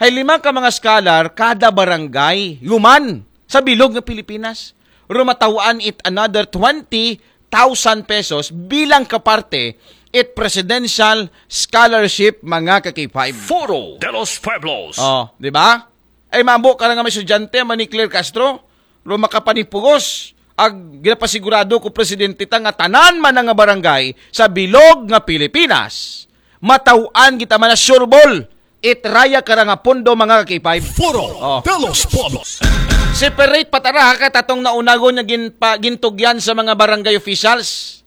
Hay lima ka mga scholar kada barangay, human sa bilog nga Pilipinas. Rumataw-an it another twenty thousand pesos bilang kaparte it presidential scholarship mga ka-K five. Foro de los Pueblos. Oh, di ba? Ay mambo ka na nga may estudyante, mani Claire Castro, ro makapanipugos. Ag ginapasigurado ko presidente ta nga tanan man nga barangay sa bilog nga Pilipinas, mataw-an kita man na sure ball it raya ka ra nga pondo mga ka-K five. Foro Oh. de los Pueblos. Separate patara ha katatong naunagon nga ginpa, gintugyan sa mga barangay officials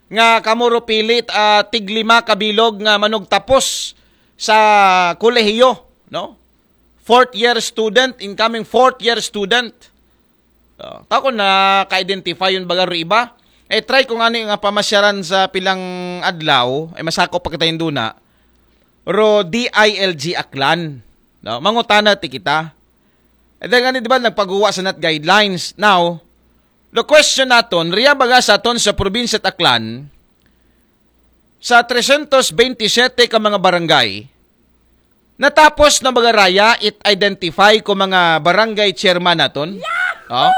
nga kamo ro pilit ah, tiglima kabilog nga manugtapos sa kolehiyo, no? Fourth year student, incoming fourth year student. Oh, ta ko na ka-identify yun baga ro iba. Eh, try ko nga ni nga pamasyaran sa pilang adlaw, ay masakop pa kita yung duna. Ro D I L G Aklan. No? Mangutana ti kita. Eh, dahil nga ni, di ba, nagpaguwa sa nat guidelines. Now, the question naton, riya baga sa aton sa probinsya at Aklan, sa tresyentos bentisiete ka mga barangay, natapos na baga raya it identify ko mga barangay chairman naton? Oh?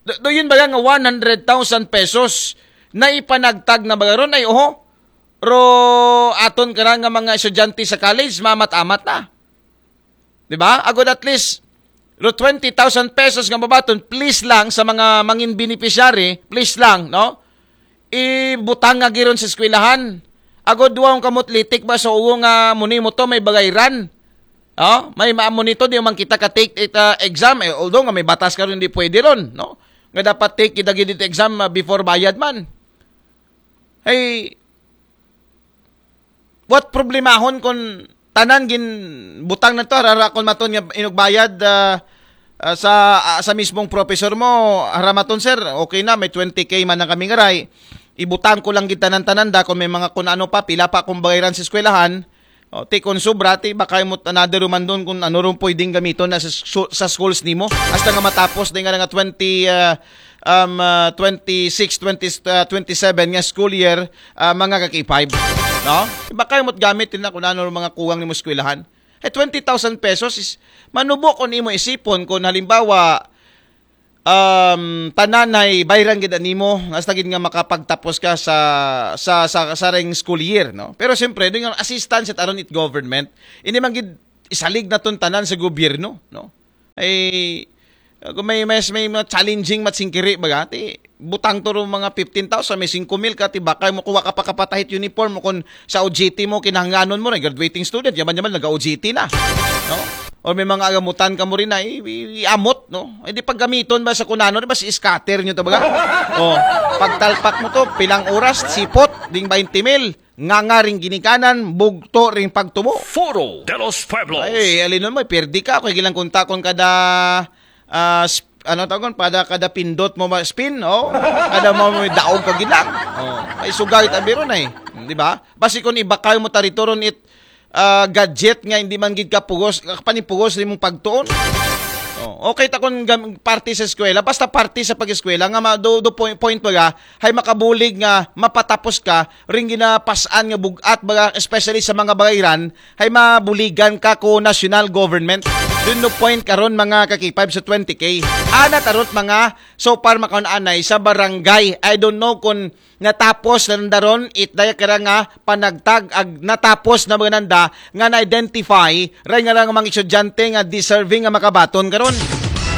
Do, do yun baga nga one hundred thousand pesos na ipanagtag na baga ron? Ay, oho. Ro aton ka nga mga estudyante sa college, mamat-amat na. Di ba? Agod at least, ro twenty thousand pesos nga mabaton, please lang sa mga mangin beneficiary, please lang, no? Ibutang nga giron sa eskwelahan. Agod duwa ang kamot litik ba sa uwo nga muni mo to, may bagay ran. Oh, may maamo nito, di man kita ka take it, uh, exam. Eh, although nga may batas ka rin, di pwede ron, no? Nga dapat take it, it exam uh, before bayad man. Hey, what problemahon kung tanan gin butang na to, harara kung maton nga inugbayad ah, ah, sa ah, sa mismong professor mo, haramaton sir, okay na, may twenty K man ang kaming aray. Ibutang ko lang gid tanan-tanan da kung may mga kung ano pa, pila pa akong bayaran sa eskwelahan. O, ti kung sobra, ti baka mo another man doon kung ano rin pwedeng gamiton na sa, su- sa schools nimo. Hasta nga matapos din nga nga twenty ah, um, ah, twenty-six, twenty, ah, twenty-seven nga school year, ah, mga ka-K five. No? Iba kayo mo't gamit din na kung ano ang mga kuwang ni mo eskwelahan. Eh, twenty thousand pesos is manubo kung imo isipon kung halimbawa, um, tanan ay bayran gid nimo, hasta gid nga makapagtapos ka sa, sa, sa, sa ring school year, no? Pero siyempre, doon yung assistance at aron it government, hindi man gid isalig na ton tanan sa gobyerno, no? Ay, uh, kung may, may, may mga challenging matsingkiri, baga, ti, butang to ro mga fifteen thousand, may singko mil ka, ti, baka mo kuha ka pa kapatahit uniform mo kung sa O J T mo, kinahanglanon mo, na graduating student, yaman-yaman, nag-O J T na. No? Or may mga agamutan ka mo rin na i- i- iamot, no? Hindi paggamiton ba sa kunano, di ba si scatter nyo to baga? Oh, pagtalpak mo to, pilang oras, sipot, ding twenty mil, nga nga ring ginikanan, bugto ring pagtubo. Foro de los Pueblos. Ay, alinon mo, pirdi ka, kung ilang kuntakon kada, ah, sp- ano tawag kon, pada kada pindot mo ba, spin, oh? Kada mo may daog ka gilang. Oh, ay sugay tabi ron ay, di ba? Basi kung ibakal mo taritoron it ah, gadget nga hindi man gid kapugos, panipugos nimong pagtuon. Oh, okay ta kung gam- parte sa eskwela, basta parte sa pag-eskwela nga ma- do, do point, point baga, hay makabulig nga mapatapos ka ring ginapasan nga bugat baga, especially sa mga bagayran, hay mabuligan ka ko national government. Dun no point karon mga ka-K five sa twenty K. Ana tarot mga so far makaon anay sa barangay. I don't know kung natapos na nanda ron, it daya kira nga panagtag ag natapos na mga nanda nga na-identify ray nga lang mga estudyante nga deserving nga makabaton karon.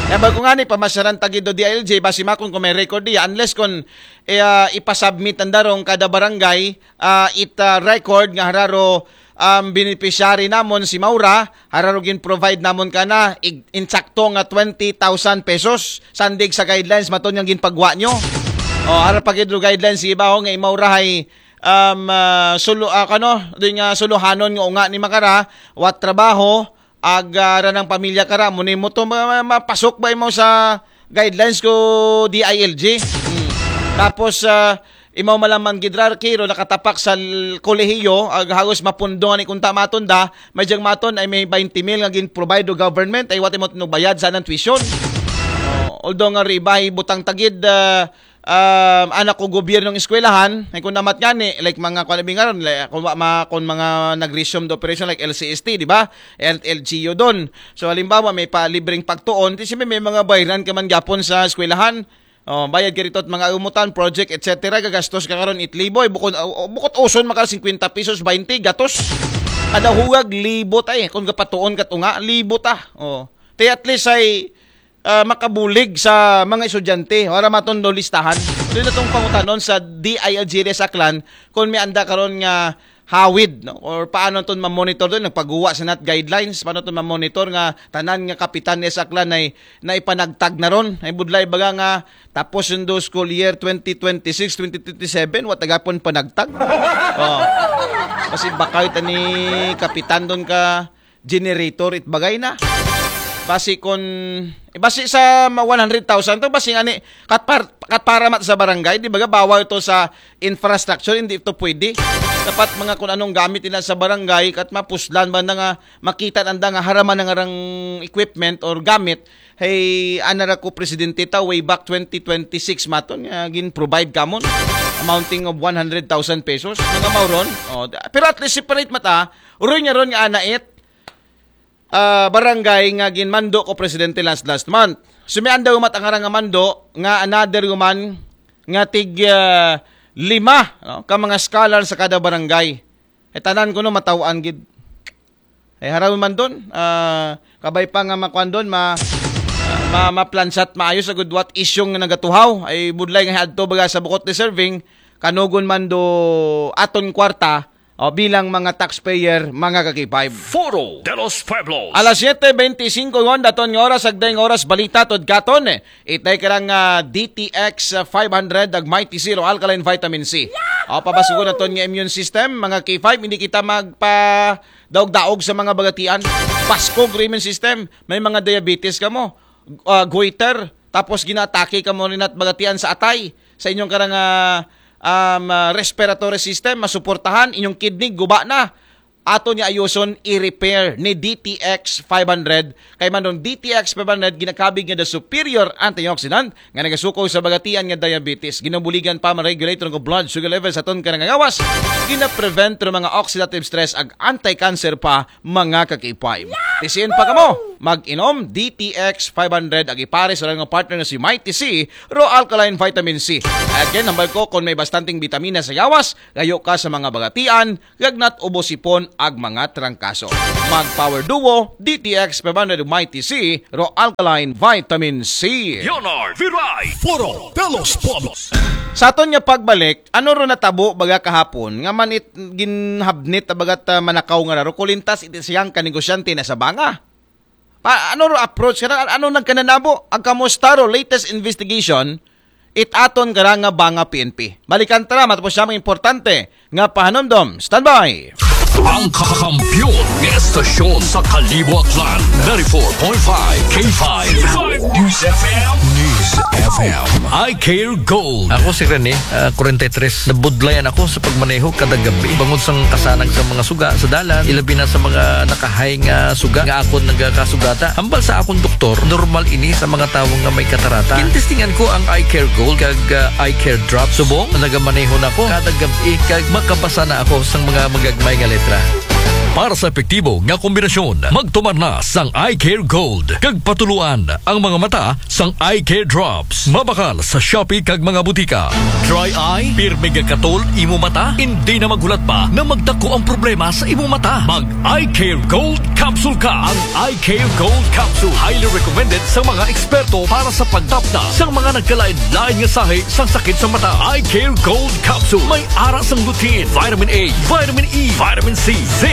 Kaya ba ko nga ni pamasyaran tagido D I L G, basi makon kung may record diya, unless kung eh, ah, ipasubmit ang darong kada barangay, ah, it ah, record nga hararo ang beneficiary namon si Maura, hararo gin-provide namon kana ig- insakto nga twenty thousand pesos. Sandig sa guidelines maton nga ginpagwa nyo. O, harap pa gid ro guidelines, sige ba, ho, nga imaurahay, um, ah, sulu-, ah, kano, di nga suluhanon nga unga ni Makara, wat trabaho, ag, ah, ranang pamilya kara, mo ni mo to ma- ma- mapasok ba imo sa guidelines ko D I L G? Hmm. Tapos, ah, imaw malaman gid ra, Kiro, nakatapak sa l- kolehiyo, ag hagos mapundong ani kung tamaton da, may diyang maton ay may twenty mil nga gin-provide do government, ay wati mo tinubayad sa anang tuition. Oh, although nga riba, ibutang tagid, ah, um, anak ko gobyernong eskwelahan, ay kung namat nga ni, like mga kung ano nga ron, like, kung, ma, kung mga nag-resume the operation like L C S T, di ba? L L G U doon. So, halimbawa, may pa libreng pagtuon, ti siyempre may mga bayran ka man gapon sa eskwelahan. Oh, bayad ka rito at mga umutan, project, et cetera. Gagastos ka karon itliboy. Bukod, oh, bukod uson makal fifty pesos, twenty, gatos. Kada huwag, libo ta eh. Kung kapatuon ka tunga, libo ta. Oh. Te at least ay ah, makabulig sa mga estudyante. Wala maton do listahan. Doon na itong pangutanon sa D I L G D S Aklan kung may anda karon nga hawid, no? Or paano itong mamonitor doon? Nagpaguwa sa nat guidelines, paano itong mamonitor nga tanan nga kapitan ni Aklan ay naipanagtag na ron? Ay budlay baga nga tapos yung do school year twenty twenty-six, twenty twenty-seven, wa tagapon panagtag. Oh. Kasi bakay tani kapitan doon ka generator it bagay na. Basi kon, eh, basi sa ma- one hundred thousand to, basi ani, kat, par, kat para mat sa barangay, di ba, bawal to sa infrastructure, hindi to pwede. Dapat mga kung anong gamit nila sa barangay, kat mapuslan ba na nga, makita nanda nga haraman na nga rang equipment or gamit, hey, anara ko presidente ta, way back twenty twenty-six maton, nga gin-provide kamon, amounting of one hundred thousand pesos, mga mauron. Oh, da- pero at least separate mata, uroy nga ron nga anait, ah, barangay nga ginmando ko presidente last, last month. Sumian daw mat ang arang nga mando nga another human nga tig, ah, lima, no, ka mga scholar sa kada barangay. E tanan ko no matawan gid. E haraw man doon, ah, kabay pa nga makuan doon, ma, ma, maplansat maayos agud what isyong nga nagatuhaw. Ay budlay nga adto baga sa bukot deserving, kanugon man do aton kwarta, o, bilang mga taxpayer, mga ka-K five. Foro de los Pueblos. Alas siyete bente singko yon daton nga oras, agday nga oras, balita tod katon. Itay karang ah, D T X five hundred, ag Mighty Zero Alkaline Vitamin C. O, pabasugon naton nga immune system, mga K five, hindi kita magpa daog-daog sa mga bagatian. Baskog ro immune system, may mga diabetes ka mo, ah, goiter, tapos ginatake ka mo rin at bagatian sa atay, sa inyong karang ah, um, ah, respiratory system, masuportahan, inyong kidney, guba na. ato niya ayuson i-repair ni D T X five hundred. Kay man ron D T X five hundred ginakabig nga the superior antioxidant nga nagasuko sa bagatian nga diabetes. Ginabuligan pa man regulate ron blood sugar level sa aton karang nga gawas. Gina-prevent ron mga oxidative stress ag anti-cancer pa, mga kakipay. Tisiin pa kamo, mag-inom D T X five hundred ag ipares sa mga partner nga si Mighty C, Raw Alkaline Vitamin C. Again, hambal ko, kung may bastanteng bitamina sa gawas, layo ka sa mga bagatian, lagnat, ubo, sipon, ag mga trangkaso. Mag Power Duo, D T X five hundred Mighty C, Raw Alkaline Vitamin C. Leonard Viray, Foro de los Pueblos. Sa aton nga pagbalik, ano ro natabo baga kahapon nga manit ginhabnit bagat uh, manakaw nga raro kulintas iti siyang kanegosyante na sa banga? Pa, ano ro approach ka? Ano nagkananabo? Ang kamusta ro latest investigation? It aton karang nga banga P N P. Balikan tara, matapos siya mga importante nga pahanumdom. Standby! Ang kakampiyon ng estasyon sa Kalibo Aklan, ninety-four point five K five News F M. News F M. I Care Gold. Ako si Rene, uh, forty-three. Nabudlayan ako sa pagmaneho kada gabi. Bangod sang kasanag sa mga suga sa dalan, ilabi na sa mga nakahay nga suga nga akon nagakasugata. Hambal sa akong doktor, normal ini sa mga tawo nga may katarata. Gintestingan ko ang Eye Care Gold kag uh, Eye Care Drop. Subong, nagamaneho na ko kada gabi kag makabasa na ako sang mga magagmay nga letra. Para sa epektibo nga kombinasyon, magtumar na sang Eye Care Gold kag patuluan ang mga mata sang Eye Care Drops. Mabakal sa Shopee kag mga butika. Dry eye, pirmi gakatol imo mata, hindi na maghulat pa na magdako ang problema sa imo mata. Mag Eye Care Gold Capsule ka. Ang Eye Care Gold Capsule highly recommended sa mga eksperto para sa pagtapna sa mga nagkalain-lain nga sahi sang sakit sa mata. Eye Care Gold Capsule may ara sang lutein, vitamin A, vitamin E, vitamin C, zinc,